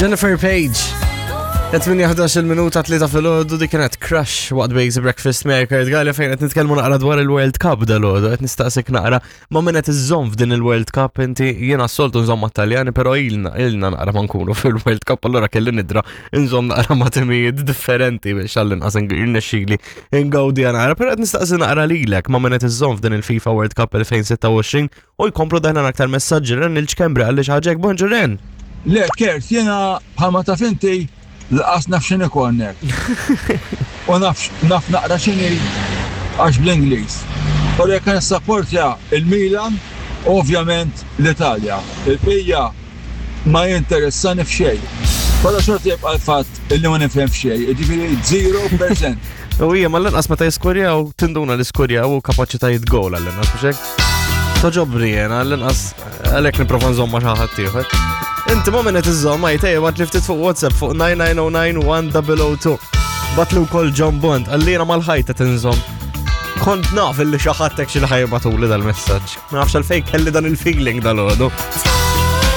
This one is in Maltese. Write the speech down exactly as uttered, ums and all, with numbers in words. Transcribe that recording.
Jennifer Page. tmienja minuta tlieta filgħodu, dik kienet Crush waqt Basic Breakfast miegħi Kurt Galea, fejn qed nitkellmu naqra dwar il-World Cup dalgħodu. Qed nistaqsik naqra ma' min qed iżżomm f'din il-World Cup inti. Jiena s-soltu nżomm mat-Taljani, però ilna ilna naqra ma nkunu fil-World Cup, allura kelli nidra nżomm naqra ma' timijiet differenti biex għall-inqas irnexxieli ngawdi naqra, però qed nistaqsi naqra lilek ma' min qed iżżomm f'din il-FIFA World Cup elfejn u sitta u għoxrin u jkomplu daħna aktar messaġġi. Ren il-ċkembri għalli xaġek, bonġu Ren. Le, Kurt, jena bħalma taf inti lanqas naf x'inhi corner. U naf naf naqra x'inhi għax bl-Ingliż. U jekk nissapportja il-Milan, ovvjament l-Italja. Il-bqija ma jinteressani f'xejn. Però xorta jibqa' l-fatt illi ma nifhem f'xejn, jiġifieri żero fil-mija. U hija mal-inqas meta jiskorjaw tinduna li skorjaw u kapaċitajiet gol għall-inqas, biex hekk. Togħġobni jena, għall-inqas għalhekk nipprova nżomm ma' xi ħadd ieħor. Inti ma' min qed iżżomm, għajt għat li ftit fuq WhatsApp fuq tmien tnejn żero tnejn wieħed żero żero tnejn. Bagħatli wkoll John Bond, għallina mal-ħajta tinżomm. Kont naf illi xi ħadd xi ħa jibagħtuli dal-messaġġ. Ma nafx għalfejn kelli dan il-feeling dalgħodu.